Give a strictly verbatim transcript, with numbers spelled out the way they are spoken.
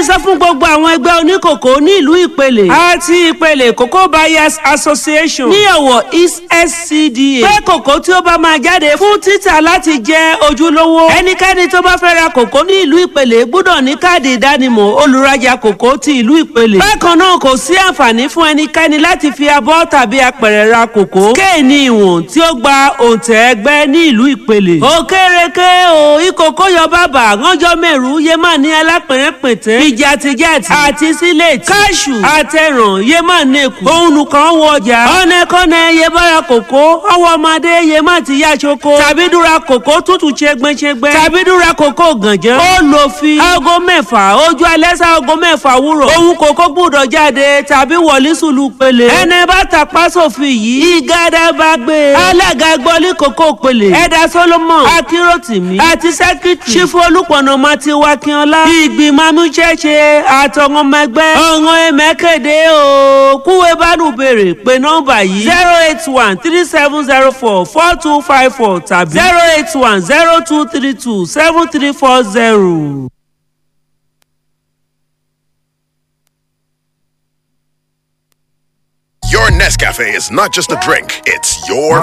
Báni sọ fún gbogbo àwọn ẹgbẹ́ oníkòkó ní ìlú Ìpele àti Ìpele Cocoa Buyers Association ní Ọ̀wọ̀ East S C D A pé kòkó tí ó bá máa jáde fún títà láti jẹ́ ojúlówó. Ẹnikẹ́ni tó bá fẹ́ ra kòkó ní ìlú Ìpele gbọ́dọ̀ ní káàdì ìdánimọ̀ olùrajà kòkó ti ìlú Ìpele. Bákan náà, kò sí àǹfààní fún ẹnikẹ́ni láti fi abọ́ tàbí apẹ̀rẹ̀ ra kòkó. Kéènì ìwọ̀n tí ó gba òǹtẹ̀ ẹgbẹ́ ní ìlú Ìpele. Òkèrèké o, ìkòkò yọ bàbà ránjọ́ mẹ́rù yé má ní alápẹ̀rẹ̀pẹ̀tẹ̀ ìjàtìjàtì àti sílẹ̀tì káṣù àtẹ̀ràn yé má nẹ́kù. Òun nìkan wọ ọjà ọ̀nẹ́kọ́nẹ́ yé bára kòkó ọwọ́ ọmọdé yé má ti yá ṣoko tàbí dúra kòkó tútù ṣẹgbẹ́ṣẹgbẹ́ tàbí dúra kòkó gànjẹ́. Ó lò fi aago mẹ́fà ojú alẹ́ sá aago mẹ́fà wúrọ̀ òun kòkó gbúdọ̀ jáde tàbí wọlé sùlù pele. Ẹni bá tàpá sófin yìí, ìgádà bá gbé. Alága gbọ́lí kòkó pele, ẹ̀dà Solomon Akíròtìmí àti sẹ́kítì Sífù Olùpọ̀nà Matiwa Kínọlá, ìgbìmọ̀ amúṣẹ́ṣe àtọ̀wọn ọmọ ẹgbẹ́ ọ̀ràn ẹ̀mẹ́kẹ̀dẹ́ o. Kúwe bánú béèrè pé nọ́mbà yìí: zero eight one three seven zero four four two five four tàbí zero eight one zero two three two seven three four zero. Your Nescafe is not just a drink, it's your